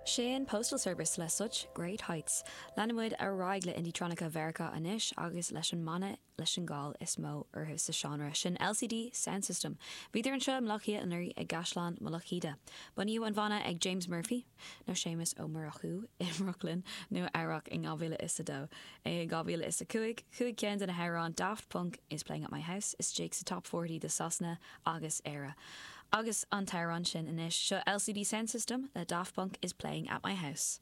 Sin Postal Service le Such Great Heights. Leanann muid ar aghaidh le Indietronica Mheiriceá anois agus leis an mbanna leis an gcáil is mó orthu sa seánra sin, LCD Soundsystem. Bhíodar anseo i mBaile Átha Cliath anuraidh i gCaisleán Mullach Íde. Bunaíodh an bhanna ag James Murphy, nó Séamus Ó Murchú, i mBrooklyn, Nua Eabhrac in 2002. I 2005, chuaigh ceann de na hamhráin Daft Punk Is Playing at My House istigh sa Top 40 do Sasana agus Éire. Agus an t-amhrán sin anois, seo LCD Soundsystem le Daft Punk Is Playing at My House.